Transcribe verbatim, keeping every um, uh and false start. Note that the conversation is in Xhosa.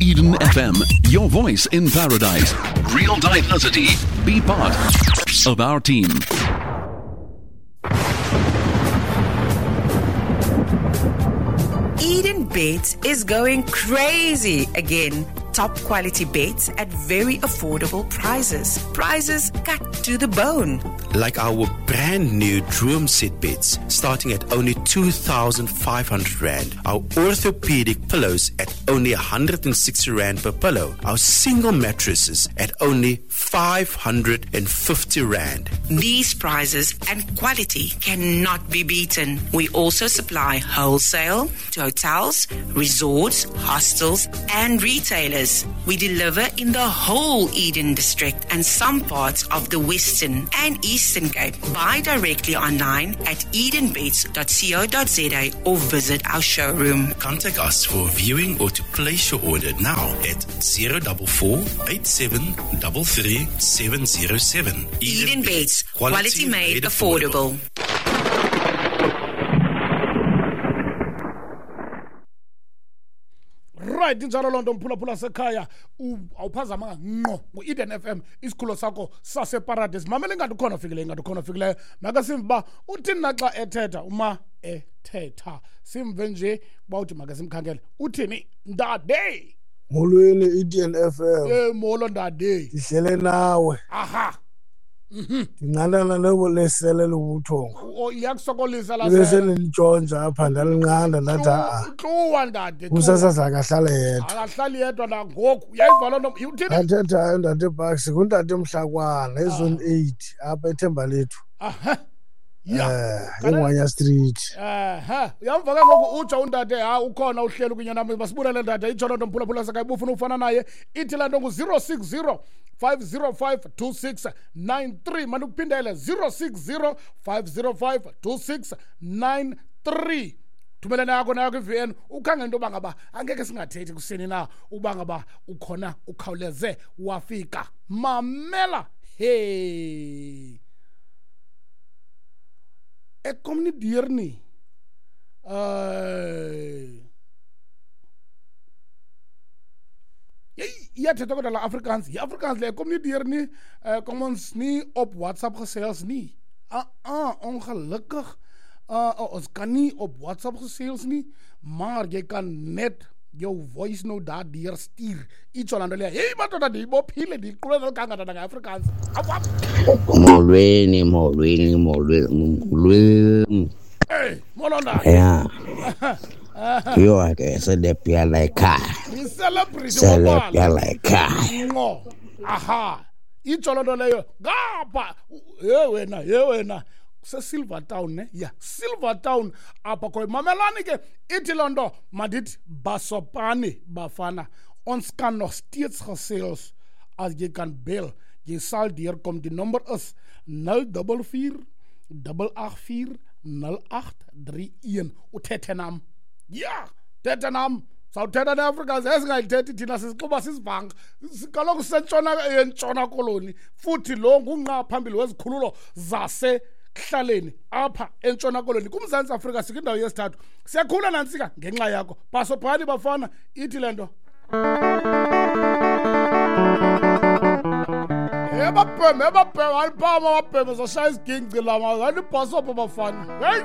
Eden F M, your voice in paradise. Real diversity. Be part of our team. Eden Beds is going crazy again. Top quality beds at very affordable prices. Prices cut to the bone. Like our brand new Droom set beds starting at only two thousand five hundred rand. Our orthopedic pillows at only one hundred and sixty rand per pillow. Our single mattresses at only five hundred and fifty rand. These prices and quality cannot be beaten. We also supply wholesale to hotels, resorts, hostels and retailers. We deliver in the whole Eden district and some parts of the Western and Eastern Cape. Buy directly online at eden beds dot co dot za or visit our showroom. Contact us for viewing or to place your order now at zero four four eight seven three three seven zero seven. Eden, Eden Beds, quality, quality made, made affordable. affordable. Right, injalo loo nto mphulaphula sekhaya awuphazamanga ngqo ngu-Eden F M isikhululo sakho saseparadise. Mamela ingathi ukhona ofikileyo, ingathi ukhona ofikileyo. Make simve uba uthini na xa ethetha, uma ethetha simve nje uba uthi make simkhangele uthini ndade. Molweni Eden F M. Eh molo ndade. Ndihlele nawe. Aha. Ndinqandana lesele lobuthongo. O iyakusokolisa la. Bese nilitshontsha apha ndalinqanda ndathi a. Tluwa ndade. Umsasazi akahlale yedwa. Akahlali yedwa nangoku. Uyayiva loo nto uthini? Athethayo ndade Bucks ngundade Mhlakwana ezone eight apha eThembalethu. Aha. Yeah. Ingwanya Street. Aha. Uyamva ke ngoku utsho undade ha ukhona uhleli kunye nami basibulele ndade itsho loo nto mphulaphula sakayi ubufuna ufana naye ithi laa nto ngu zero six zero five zero five two six nine three. Mandikuphindele zero six zero five zero five two six nine three. Thumelana yakho nayo kwi-V N ukhangele into yoba ngaba angeke singathethi kusini na uba ngaba ukhona ukhawuleze wafika. Mamela hey. Ek kom nie deur nie. Uh, iyathetha kodwa la Afrikaans. Yi-Afrikaans le, ek kom nie deur nie. Uh, kom ons nie op WhatsApp gesels nie. Ah, ah, ongelukkig. Uh, uh, ons kan nie op WhatsApp gesels nie, maar jy kan net jou voice note daar deur stuur. Itsho laa nto leyo. Hey, madoda, ndiyibophile, ndiyiqhubele kangaka nge-Afrikaans. Awu, awu. Molweni, molweni, molweni, molweni. Hey, molo ndade. Yeah. Yho ke selebia la ekhaya. Yi-celebrity Selebia la ekhaya. Ngqo. Aha. Itsho loo nto leyo. Ngapha. Ye wena, ye wena. Silver Town ne? Yeah, Silver Town apha khoyo. Mamelani ke ithi loo nto mandithi basopani bafana. Ons kan nog steeds gesels as jy kan bel. Jy sal deurkom. Die nommer is nul dubbel vier dubbel agt vier nul agt drie een. Uthethe nam. Ja, thethe nam. Sawuthetha neAfrikaans esingayithethi thina sisixuba sisivanga. Kaloku sisentshona entshona koloni futhi lo ngungqa phambili wezikhululo zase kuhlaleni apha entshona koloni kuMzantsi Afrika sikwindawo yesithathu. Siyakhula nantsika ngenxa yakho. Bhasobhani bafana ithi le nto. Ebabheme ebabheme aliphama ababheme zoshaya isigingci lama alibhasobho bafana. Hey.